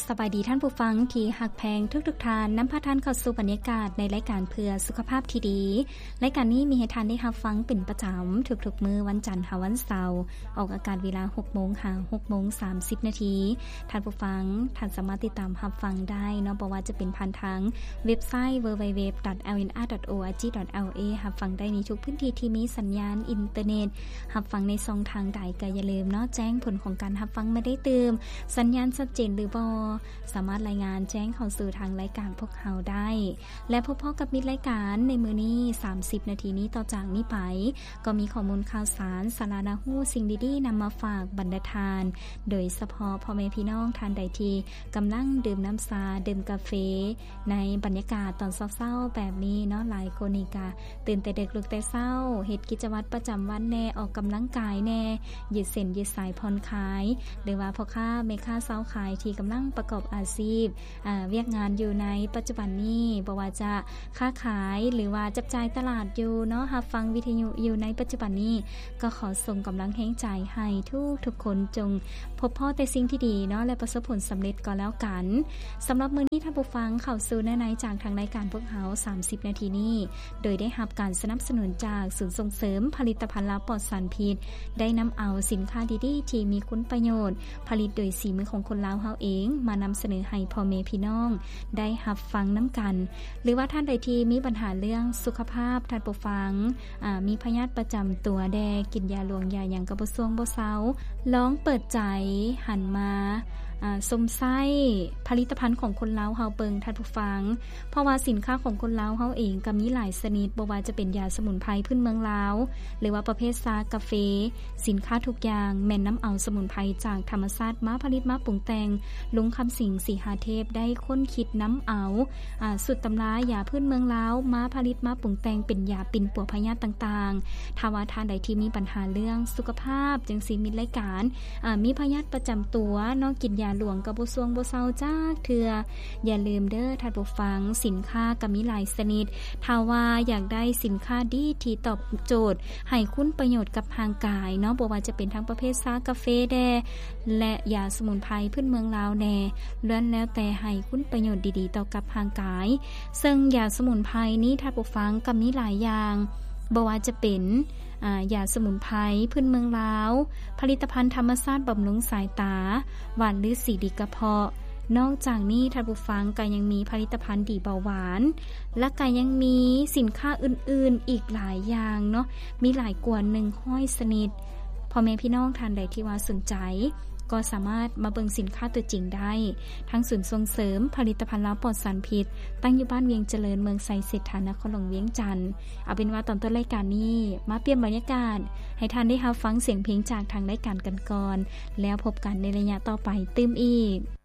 ສະບາຍດີທ່ານຜູ້ຟັງທີ່ຮັກແພງທຸກໆທ່ານ, ນຳພາທ່ານເຂົ້າສູ່ບັນຍາກາດໃນລາຍການເພື່ອສຸຂະພາບທີ່ດີ. ລາຍການນີ້ມີໃຫ້ທ່ານໄດ້ຮັບຟັງເປັນປະຈຳທຸກໆມື້ວັນຈັນຫາວັນເສົາ, ອອກອາກາດເວລາຫົກໂມງຫາຫົກໂມງສາມສິບນາທີ. ທ່ານຜູ້ຟັງ, ທ່ານສາມາດຕິດຕາມຮັບຟັງໄດ້ເນາະ, ບໍ່ວ່າຈະເປັນຜ່ານທາງເວັບໄຊ www.lnr.org.la ຮັບຟັງໄດ້ໃນທຸກພື້ນທີ່ທີ່ມີສັນຍານອິນເຕີເນັດ. ຮັບຟັງໃນຊ່ອງທາງໃດກໍຢ່າລືມເນາະ, ແຈ້ງຜົນຂອງການຮັບຟັງມາໄດ້ຕື່ມ, ສັນຍານຊັດເຈນຫຼືບໍ່, ສາມາດລາຍງານແຈ້ງເຂົ້າສູ່ທາງລາຍການພວກເຮົາໄດ້. ແລະ ພົບພໍ້ກັບມິດລາຍການໃນມື້ນີ້ ສາມສິບນາທີນີ້ຕໍ່ຈາກນີ້ໄປ, ກໍມີຂໍ້ມູນຂ່າວສານ, ສາລະໜ້າຮູ້, ສິ່ງດີໆນຳມາຝາກບັນດາທ່ານ, ໂດຍສະເພາະພໍ່ແມ່ພີ່ນ້ອງທ່ານໃດທີ່ກຳລັງດື່ມນ້ຳຊາ, ດື່ມກາເຟ ໃນບັນຍາກາດຕອນເຊົ້າໆແບບນີ້ເນາະ, ຫຼາຍຄົນນີ້ກະຕື່ນແຕ່ເດິກລຸກແຕ່ເຊົ້າ, ເຮັດກິດຈະວັດປະຈຳວັນແດ່, ອອກກຳລັງກາຍແດ່, ຢືດເສັ້ນຢືດສາຍຜ່ອນຄາຍ, ຫຼືວ່າພໍ່ຄ້າແມ່ຄ້າຊາວຂາຍທີ່ກຳລັງປະກອບອາຊີບ, ອາ, ວຽກງານຢູ່ໃນປັດຈຸບັນນີ້, ບໍ່ວ່າຈະຄ້າຂາຍ ຫຼືວ່າຈັບຈ່າຍຕະຫຼາດຢູ່ເນາະ, ຮັບຟັງວິທະຍຸຢູ່ໃນປັດຈຸບັນນີ້, ກໍຂໍສົ່ງກຳລັງແຮງໃຈໃຫ້ທຸກໆຄົນ ຈົ່ງ ພົບພໍ້ແຕ່ສິ່ງທີ່ດີເນາະ ແລະ ປະສົບຜົນສຳເລັດກໍແລ້ວກັນ. ສຳລັບມື້ນີ້ທ່ານຜູ້ຟັງເຂົ້າສູ່ເນື້ອໃນຈາກທາງລາຍການພວກເຮົາ ສາມສິບນາທີນີ້ ໂດຍໄດ້ຮັບການສະໜັບສະໜູນຈາກສູນສົ່ງເສີມຜະລິດຕະພັນລາວປອດສານພິດ, ໄດ້ນຳເອົາສິນຄ້າດີໆທີ່ມີຄຸນປະໂຫຍດ, ຜະລິດໂດຍສີມືຂອງຄົນລາວເຮົາເອງ ມານຳສະເໜີໃຫ້ພໍ່ແມ່ພີ່ນ້ອງໄດ້ຮັບຟັງນຳກັນ. ຫຼືວ່າທ່ານໃດທີ່ມີບັນຫາເລື່ອງສຸຂະພາບ, ທ່ານຜູ້ຟັງ ອາ ມີພະຍາດປະຈຳຕົວແດ່, ກິນຢາຫຼວງຢາຫຍັງກໍບໍ່ຊ່ວງບໍ່ເຊົາ, ລອງເປີດໃຈຫັນມາ ອາ ຊົມໃຊ້ຜະລິດຕະພັນຂອງຄົນລາວເຮົາເບິ່ງ ທ່ານຜູ້ຟັງ, ເພາະວ່າສິນຄ້າຂອງຄົນລາວເຮົາເອງກໍມີຫຼາຍຊະນິດ, ບໍ່ວ່າຈະເປັນຢາສະໝຸນໄພພື້ນເມືອງລາວ ຫຼືວ່າປະເພດຊາ, ກາເຟ, ສິນຄ້າທຸກຢ່າງແມ່ນນຳເອົາສະໝຸນໄພຈາກທຳມະຊາດມາຜະລິດມາປຸງແຕ່ງ. ລຸງຄຳສິງ ສີຫາເທບ ໄດ້ຄົ້ນຄິດນຳເອົາ ອາ ສູດຕຳລາຢາພື້ນເມືອງລາວມາຜະລິດມາປຸງແຕ່ງເປັນຢາປິ່ນປົວພະຍາດຕ່າງໆ. ຖ້າວ່າທ່ານໃດທີ່ມີບັນຫາເລື່ອງສຸຂະພາບ ຈັ່ງຊີ້ ມິດລາຍການ ອາ ມີພະຍາດປະຈຳຕົວເນາະ, ກິນຢາຫຼວງກໍບໍ່ຊ່ວງບໍ່ເຊົາຈັກເທື່ອ, ຢ່າລືມເດີທ່ານຜູ້ຟັງ, ສິນຄ້າກໍມີຫຼາຍຊະນິດ. ຖ້າວ່າຢາກໄດ້ສິນຄ້າດີທີ່ຕອບໂຈດໃຫ້ຄຸນປະໂຫຍດກັບຮ່າງກາຍເນາະ, ບໍ່ວ່າຈະເປັນທັງປະເພດຊາ, ກາເຟແດ່ ແລະ ຢາສະໝຸນໄພພື້ນເມືອງລາວແດ່, ລ້ວນແລ້ວແຕ່ໃຫ້ຄຸນປະໂຫຍດດີໆຕໍ່ກັບຮ່າງກາຍ. ເຊິ່ງຢາສະໝຸນໄພນີ້ ທ່ານຜູ້ຟັງ, ກໍມີຫຼາຍຢ່າງ, ບໍ່ວ່າຈະເປັນ ອາ ຢາສະໝຸນໄພພື້ນເມືອງລາວ, ຜະລິດຕະພັນທຳມະຊາດບຳລຸງສາຍຕາ, ຫວ່ານລືສີດີກະເພາະ. ນອກຈາກນີ້ ທ່ານຜູ້ຟັງ, ກໍຍັງມີຜະລິດຕະພັນດີເບົາຫວານ, ແລະ ກໍຍັງມີສິນຄ້າອື່ນໆອີກຫຼາຍຢ່າງເນາະ, ມີຫຼາຍກວ່າໜຶ່ງຮ້ອຍຊະນິດ. ພໍ່ແມ່ພີ່ນ້ອງທ່ານໃດທີ່ວ່າສົນໃຈ ກໍສາມາດມາເບິ່ງສິນຄ້າຕົວຈິງໄດ້ ທາງສູນສົ່ງເສີມຜະລິດຕະພັນລາວປອດສານພິດ, ຕັ້ງຢູ່ບ້ານວຽງຈະເລີນ, ເມືອງໄຊເສດຖາ, ນະຄອນຫຼວງວຽງຈັນ. ເອົາເປັນວ່າຕອນຕົ້ນລາຍການນີ້ ມາປ່ຽນບັນຍາກາດ ໃຫ້ທ່ານໄດ້ຮັບຟັງສຽງເພງຈາກທາງລາຍການກັນກ່ອນ, ແລ້ວພົບກັນໃນໄລຍະຕໍ່ໄປຕື່ມອີກ.